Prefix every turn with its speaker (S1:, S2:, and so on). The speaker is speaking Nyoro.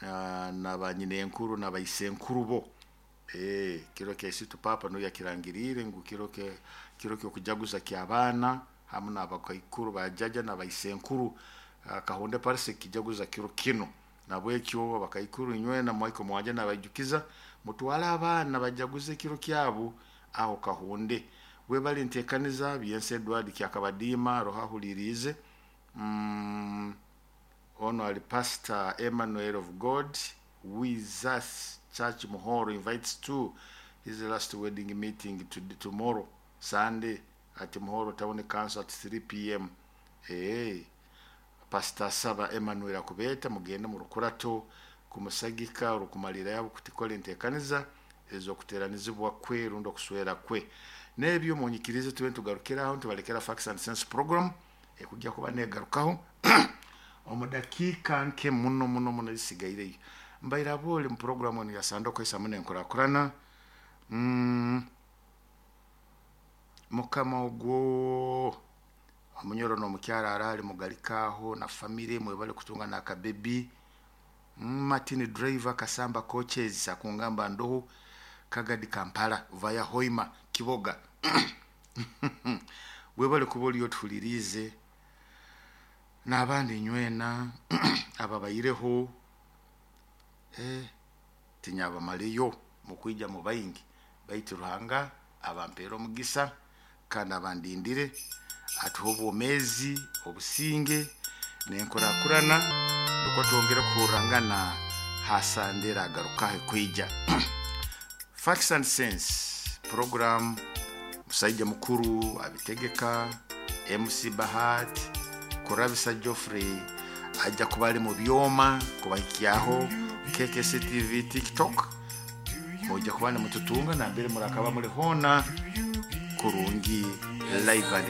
S1: Na banyinenkuru na baisenkuru bo. Kiro kya isitu papa nuwe yakirangiriire ngu kiro ky'okujaguza ky'abaana hamu n'abakaikuru bajaja na baisenkuru. Kahonde Parish ekijaguza kiro kinu. Nabwekyo abakaikuru inywena Michael Mwanje nabaijukiza, mutwale abaana bajaguze ekiro kyabo aho Kahonde. Webale ntekaniza Byensi Edward Kyakabadiima roho ahuliriize. Ono ali Pastor Emmanuel of God with us Church Muhoro invites to his last wedding meeting to tomorrow Sunday at Muhoro Town Council at 3 p.m. Hey, Pastor Saba Emmanuel akubeeta mugende mu rukurato kumusagika orukumalira yabo kutikora entekaniza ez'okuteranizibwa kwe rundi okuswera kwe. N'ebyo munyikirize tube ntugarukiraho, ntubalekera Facts and Sense program ekujja kuba negarukaho omu dakiika nke muno muno muno ezisigaireyo. Mbaire abooli mu program enu ya Sande Okwesa muno enkurakurana. Mukama ogwo omunyoro n'omukyara araali mugalikaaho na famire, mwebale kutunga n'akabebi. Martin Driver Kasamba Coaches akungamba ndoho Kagadi Kampala via Hoima Kiboga, webale kuba oli otuhuliriize n'abandi nywena ababaireho. Tinyabamaleyo mukwija mu baingi, baitu Ruhanga abampeera omugisa kandi abandindire, atuhe obwomeezi, obusinge n'enkurakurana, nukwo twongere kuhurrangana ha Sande eragarukaho ekwija. Facts and Sense program, musaija mukuru abitegeka MC Bahat Kurabisa Geoffrey ajja kuba ali mu byoma kubahikyaho KKC TV, TikTok. Mujja kuba nimututunga nambere murakaba muli hoona kurungi, live and